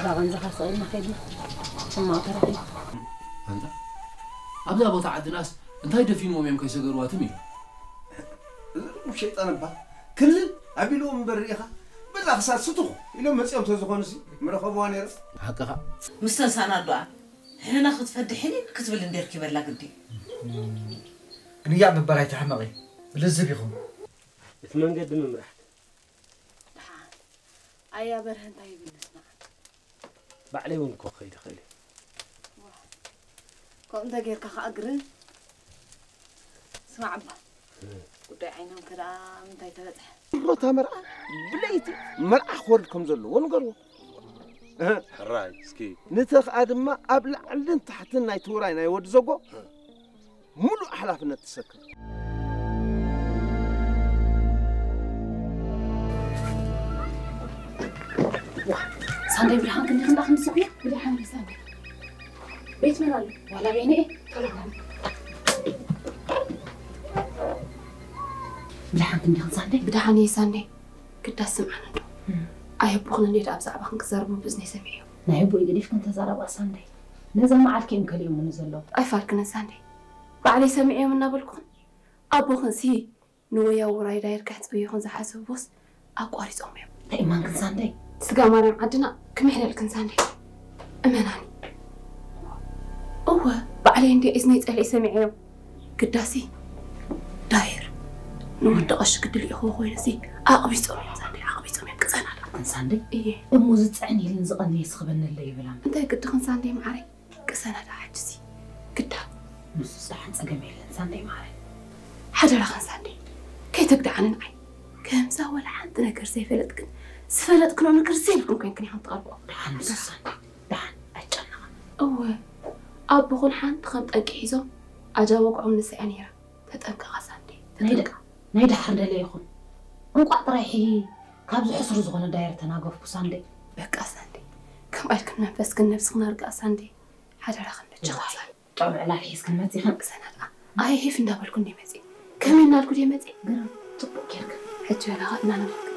ራቐን ዝኸሰልና ከይዱ ሕማቕ ተረኺቡ። ኣንታ ኣብዛ ቦታ ዓድናስ እንታይ ደፊንዎም እዮም ከይሰገርዋ ትም ኢሉ? እዞም ሸይጣን እባ ክልል ኣቢልዎም እምበር ርኢኻ፣ በዛ ክሳድ ስቱኽ ኢሎም መጺኦም ተዝኾኑሲ ምረኸብዋ ነይረ። ሓቅኻ። ምስ ተሳናዱኣ ሕና ክትፈድሕኒ ክትብል እንዴ ርኪበላ ግዲ። ግንያ ምበር ኣይትሕመቒ፣ ብልዝብ ኢኹም። እቲ መንገዲ ምምራሕ። ደሓን ኣያ በርሀ እንታይ ይብል ንስማዕ። ባዕለይ እውን እኮ ክኸይድ እኽእል እየ። ከምኡ እንተጌርካ ከዓ ግርም። ስማዕ እባ ጉዳይ ዓይኖም ከ ደኣ ምንታይ ተበፅሐ? ሮታ መርዓ ብለይቲ መርዓ ክወርድ ከም ዘለዎ ንገርዎ። ሕራይ እስኪ ንተኽኣ ድማ ኣብ ላዕልን ታሕትን ናይ ትውራይ ናይ ወዲ ዘጎ ሙሉእ ሓላፍነት ትሰክም። ሳንዳይ ብድሓን ክንዲ ክንዳ ክንስብ እያ ብድሓን ሳንዳይ ቤት መን ኣሎ ዋላ ቤነ እየ ቶሎ ብድሓን ክንዲ ክንሳንዳይ ብድሓን እየ ሳንዳይ ግዳስ ስምዓን እንዶ ኣየቦኽን እንዴ ደኣ ብዛዕባኽን ክዛረቡ ብእዝነይ ሰሚዐዮ ናይ ኣቦይ ገዲፍክን ተዛረባ ሳንዳይ ነዛ መዓልኪ እዮም ከሊኦምኒ ዘለዉ ኣይፋልክንን ሳንዳይ ባዕለይ ሰሚዐዮም እናበልኩኽን ኣቦኽንሲ ንወያው ውራይ ዳይር ከሕጽብዩኽን ዝሓሰቡስ ኣቋሪጾም እዮም ናይ እማንክን ሳንዳይ ስጋ ማርያም ዓድና ክምሕለልክን ሳንዳይ እመናኒ እወ ባዕለይ እንዲ እዝነይ ጸሊእ ሰሚዐዮም ግዳሲ ዳይር ንወዲ ቀሺ ግዲ ልኢኽዎ ኮይኑሲ ኣቕቢጾም እዮም ሳንደይ ኣቕቢጾም እዮም ቅሰናዳ ክንሳንደይ እየ እሞ ዝፅዕን ኢልን ዝቐንየ ስኽበነለ ይብላን እንታይ ግዲ ክንሳንደይ መዓረይ ቅሰናዳ ሕጅሲ ግዳ ንሱስ ደሓን ፀገም የለን ሳንደይ መዓረይ ሓደራ ክንሳንደይ ከይተግድዓኒ ንዓይ ከምዛ ወላ ሓንቲ ነገር ዘይፈለጥክን ዝፈለጥክኖ ነገር ዘይብልክን ኮይንክን ኢኽን ትቐርብኦ ደሓን ንሱስ ሳንደይ ደሓን ኣይጨነቐን እወ ኣቦኹን ሓንቲ ከም ጠንቂ ሒዞም ኣጃ ወግዖም ንሳ እያ ነይራ ተጠንቀቓ ሳንዴ ናይ ደ- ተጠንቀቕ ናይ ደሓር ደለ ይኹን እንቋዕ ጥራይ ሕይ ካብዚ ሕሱር ዝኾነ ዳየር ተናገፍኩ ሳንዴ በቃ ሳንዴ ከምኣ ኢልክን መንፈስክን ነብስኽን ኣርግኣ ሳንዴ ሓደራኽን በጃኻ ሳንዴ ጥዑም ዕላል ሒዝክን መፂኽን ቅሰናት ኣይ ሂፍ እንዳበልኩ እንደ መፂ ከመይ እናልኩ ድየ መፂ ግርም ፅቡቅ ጌርክን ሕጂ በላ ኸ እናነገርክን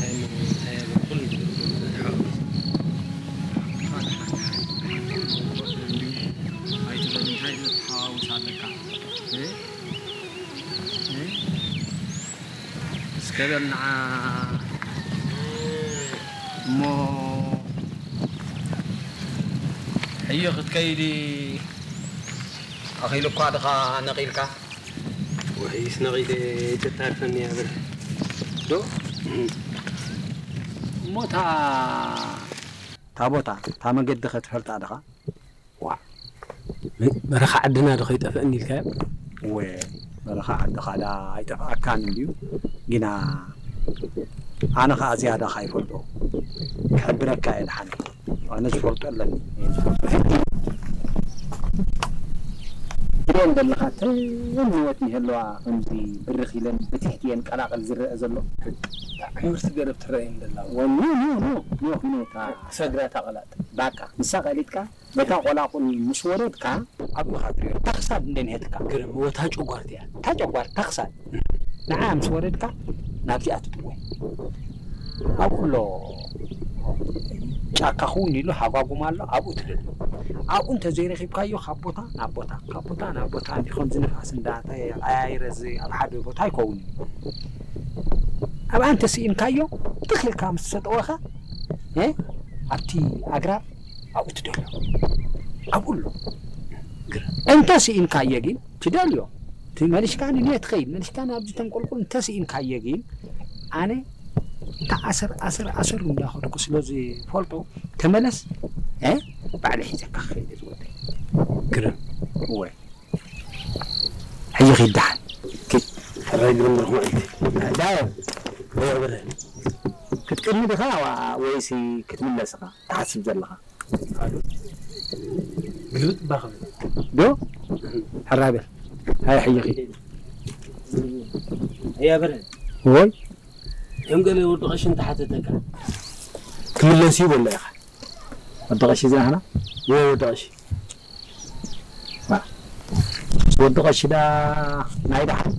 እንታይ እሞ እንታይ እሞ ኩሉ ሓወስ ኣይትበል እንታይ ትሓዋውስ ኣለካ እ? እ? እስከ በል ንዓ እሞ ሕዮ ክትከይድ ኣኺሉ እኳ ድኻ ነቒልካ ውሕይስ ነቒለ ተጣርፈኒ እያ በል ዶ እሞ እታ እታ ቦታ እታ መገዲ ኸ ትፈልጣ ድኻ ዋእ በረኻ ዓድና ዶ ኸይጠፍአኒ ኢልካዮ እወ በረኻ ዓድኻ ዳ ኣይጠፍኣካን እንድዩ ግና ኣነ ኸዓ ዝያዳ ኸይፈልጦ ክሕብረካ እየ ድሓን ኣነ ዝፈልጦ ኣለኒ ትሪኤን ዘለኻ ተን ንወት ይህለዋ ከምዚ ብርኽ ኢለን ብትሕቲ እየን ቀላቕል ዝረአ ዘሎ ዕምርቲ ገረብ ትረአየን ዘላ ወ ኖ ኖ ኖ ኖ ኖ እታ ሰግራ እታ ቀላጥ ባቃ ንሳ ቀሊጥካ በታ ቆላቁል ምስ ወረድካ ኣብኡ ኢኻ ትሪኦ እታ ክሳድ እንደ ንሄትካ ግርም እወ እታ ጨጓርቲ እያ እታ ጨጓር እታ ክሳድ ንዓ ምስ ወረድካ ናብዚኣ ትጥወይ ኣብኡ ኣሎ ጫካ ክውን ኢሉ ሃጓጉም ኣሎ ኣብኡ ትደሉ ኣብኡ እንተዘይረኺብካዮ ካብ ቦታ ናብ ቦታ ካብ ቦታ ናብ ቦታ እንዲ ከምዚ ንፋስ እንዳተቀያየረ ዚ ኣብ ሓደ ቦታ ኣይከውን እዩ ኣብኣ እንተስኢንካዮ ትኽ ኢልካ ምስ ተጠወኻ ኣብቲ ኣግራብ ኣብኡ ትደሎ ኣብኡ ኣሎ እንተ ስኢንካዮ ግን ትደልዮ እቲ መሊሽካ ንንየ ትኸይድ መሊሽካ ናብዚ ተንቆልቁል እንተ ስኢንካዮ ግን ኣነ እንተ ኣሰር ኣሰር ኣሰር እንዳኸድኩ ስለ ዝፈልጦ ተመለስ ባዕለ ሒዘካ ክኸይድ ዝወደ ግርም እወ ሕጂ ኺድ ደሓን ሕራይ ግርም ርኹም ዕልቲ ዳየ ወበረ ክትቅድሚ ዲኻ ወይሲ ክትምለስ ኢኻ ትሓስብ ዘለኻ ግልብጥ እባ ክብል ዶ ሕራይ በል ሃይ ሕጂ ኺድ እያ በረ ወይ ከም ገለ ወዲ ቀሺ እንተሓተተካ ክምለስ እዩ በሎ ኢኻ ወዲ ቀሺ ዝናህና ወይ ወዲ ቀሺ ወዲ ቀሺ ዳ ናይ ደሓን